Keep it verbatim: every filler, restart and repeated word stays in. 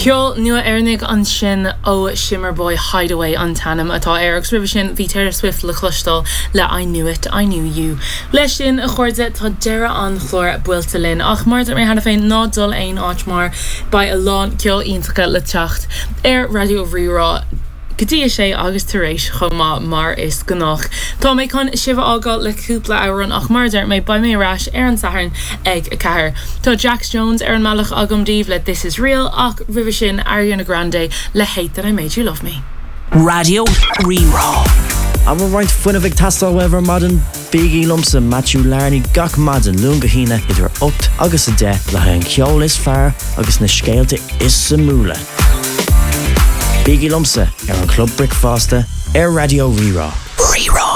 Ceol nua Éireannach ansin ó Shimmerboy Hideaway an t-ainm atá air agus roimhe sin bhí Taylor Swift le cloisteáil le I Knew It, I Knew You. Leis sin a chairde tá deireadh an chláir buailte linn ach mar mé cheana féin ná dul aon áit mar beidh a lán ceol iontach le teacht ar Raidió Rí-Rá. Go dtí a sé agus tar éis chomh maith mar is gnách. Tá mé chun sibh a fhágáil le cúpla amhrán ach mar deir mé beidh mé ar ais ar an Satharn ag a ceathair. Tá Jax Jones ar an mbealach agam daoibh le This is Real ach roimhe sin Ariana Grande le Hate That I Made You Love Me. Raidió Rí-Rá. An bhfuil roinnt fuinnimh ag teastáil uaibh ar maidin bígí liomsa Matthew Larney gach maidin Luan go hAoine idir ocht agus a deich le haghaidh an ceol is fearr agus na scéalta is suimiúla. Bígí liomsa ar an Club Bricfeasta ar Raidió Rí-Rá. Rí-Rá.